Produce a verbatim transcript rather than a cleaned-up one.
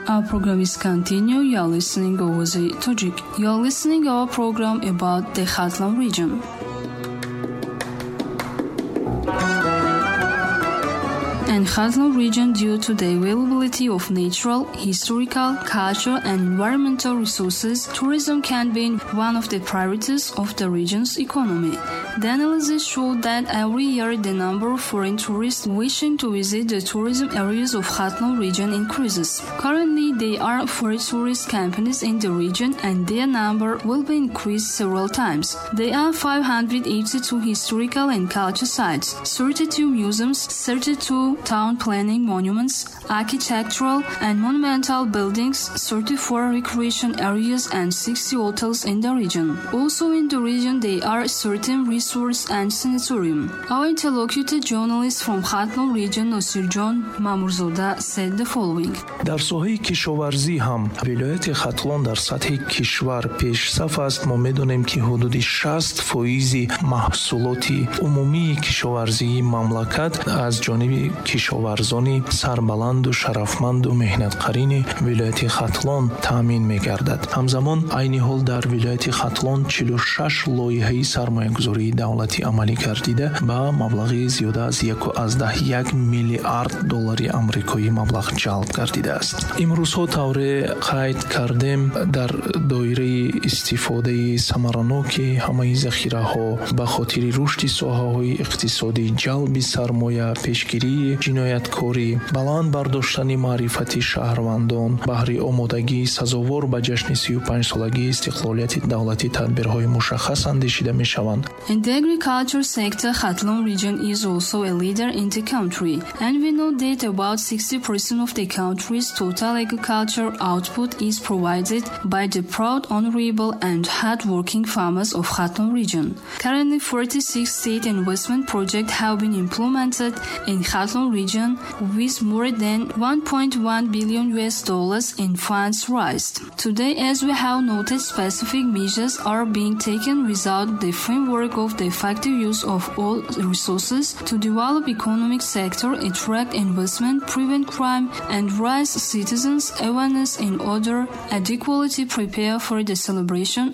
Our program is continue. You are listening Ovozi Tojik. You are listening our program about the Khatlon region. And Khatlon region, due to the availability of natural, historical, cultural and environmental resources, tourism can be one of the priorities of the region's economy. The analysis showed that every year the number of foreign tourists wishing to visit the tourism areas of Khatlon region increases. Currently, there are four tourist companies in the region and their number will be increased several times. There are five hundred eighty-two historical and cultural sites, thirty-two museums, thirty-two town planning monuments, architectural and monumental buildings, thirty-four recreation areas and sixty hotels in the region. Also in the region there are thirteen resorts and sanatorium. Our interlocutor journalist from Khatlon region Nosirjon Mamurzoda said the following. Дар соҳаи кишоварзӣ ҳам вилояти Хатлон дар сатҳи кишвар пешсаф аст. Мо медонем, ки ҳудуди шаст фоизи маҳсулоти умумии кишоварзии мамлакат аз ҷониби кишоварзони сарбаланду шарафманду меҳнатқарини вилояти Хатлон таъмин мегардад. Ҳамзамон айни ҳол дар вилояти Хатлон чилу шаш лоиҳаи сармоягузории давлатӣ амалӣ гардида ба маблағи зиёда аз яку аз даҳ як миллиард доллари амрикоӣ маблағ ҷалб гардидааст. Имрӯзҳо тавре қайд кардем, дар доираи истифодаи самараноки ҳамаи захираҳо ба хотири рушди соҳаҳои иқтисодӣ, ҷалби сармоя, пешгирии ҷинояткорӣ, баланд бардоштани маърифати шаҳрвандон баҳри омодагии сазовор ба ҷашни сию панҷсолагии истиқлолияти давлатӣ тадбирҳои мушаххас андешида мешаванд. In the agriculture sector, Khatlon region is also a leader in the country, and we know that about sixty percent of the country's total agriculture output is provided by the proud, honorable and hard-working farmers of Khatlon region. Currently, forty-six state investment projects have been implemented in Khatlon region with more than one point one billion U S dollars in funds raised. Today, as we have noted, specific measures are being taken without the framework of the effective use of all resources to develop economic sector, attract investment, prevent crime, and raise citizens' awareness in order adequately prepare for the celebration